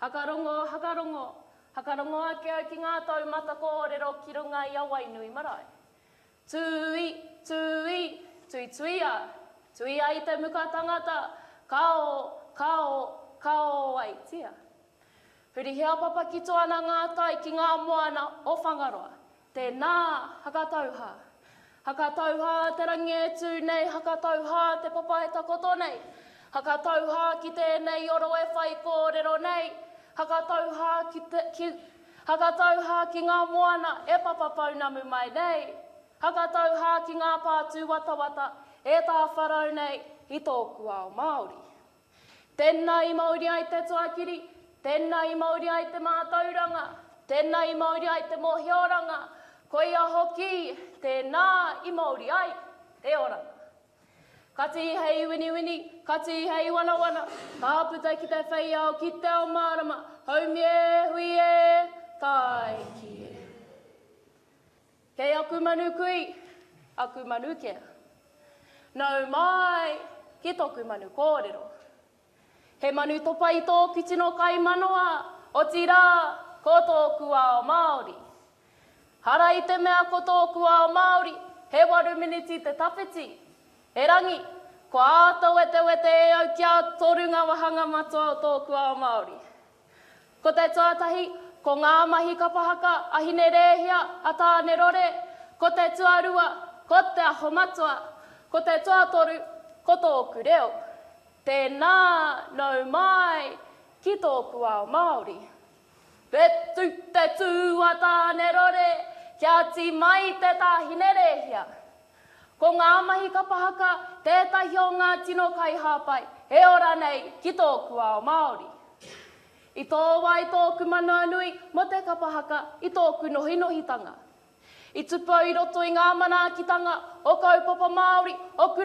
Hakarongo, hakarongo, hakarongo ake au ki ngā taumata kōrero ki runga i a Wainui marae. Tūi, tūi, tuituia, tuia i te muka tangata, kao, kao, kao ai tia. Hurihia papakito ana ngā tai ki ngā moana o Whangaroa. Tēnā, hakatauhā. Hakatauhā te rangi e tū nei, hakatauhā te papa e takoto nei. Hakatauhā ki tēnei oro e whaikōrero nei, hakatauhā ki te, ki, hakatauhā ki ngā moana e papa pounamu mai nei, hakatauhā ki ngā pā tūwatawata e tāwharau nei i tōku ao Māori. Tēnā i mauri ai te tuakiri, tēnā i mauri ai te mātauranga, tēnā i mauri ai te mōhioranga, koia hoki tēnā i mauri ai te oranga. Kati hei winiwini, kati hei wanawana, ka puta ki te whei ao, ki te ao mārama, haumi e, hui e, tāiki e. Kei aku manu kui, aku manu kea. Nau mai ki toku manu kōrero. He manu topa i tōku tino kaimanawa, otirā, ko tōku ao Māori. Hara i te mea ko tōku ao Māori, he waru miniti te tawhiti. Erangi, kua āta wetewete e au kia toru ngā wāhanga matua o tōku ao Māori. Ko te tuatahi, ko ngā mahi kapa haka a Hine Rēhia, a Tāne Rore, ko te tuarua, ko Te Aho Matua, ko te tuatoru, ko tōku reo. Tēnā, nau mai ki tōku ao Māori. Whetu te tū a Tāne Rore, kia tī mai te tā Hine Rēhia. Ko ngā mahi kapa haka tētahi o ngā tino kaihāpai e ora nei ki tōku ao Māori. I tō wā i tōku manawanui mō te kapa haka i tōku nohinohitanga. I tupu au i roto i ngā manaakitanga o kaupapa Māori, o kura.